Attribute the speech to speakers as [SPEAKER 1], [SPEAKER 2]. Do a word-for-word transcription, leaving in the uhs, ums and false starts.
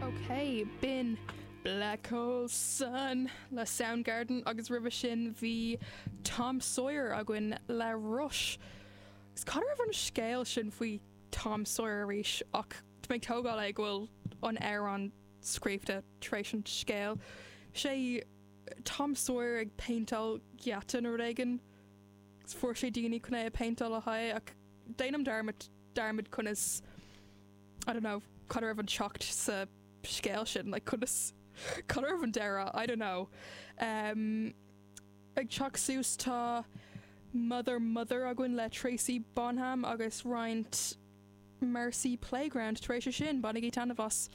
[SPEAKER 1] Ok, b'in Black Hole Sun le Soundgarden agus roimhe sin bhí Tom Sawyer againn le Rush. Is cad raibh an scéal sin faoi Tom Sawyer arís ach mé tógáil é go bhfuil an amhrán scríofa tar éis an scéal. Sé Tom Sawyer ag péinteáil geata nó rud éigin fuair sé daoine chun é a péinteáil le haghaidh ach déanaim dearmad dearmad conas I don't know cad raibh an teacht sa scéal sin like conas cad raibh an deireadh I don't know. Um, ag teacht suas tá Mother Mother againn le Tracy Bonham agus roinnt Mercy Playground tar éis sin bainigí taitneamh as.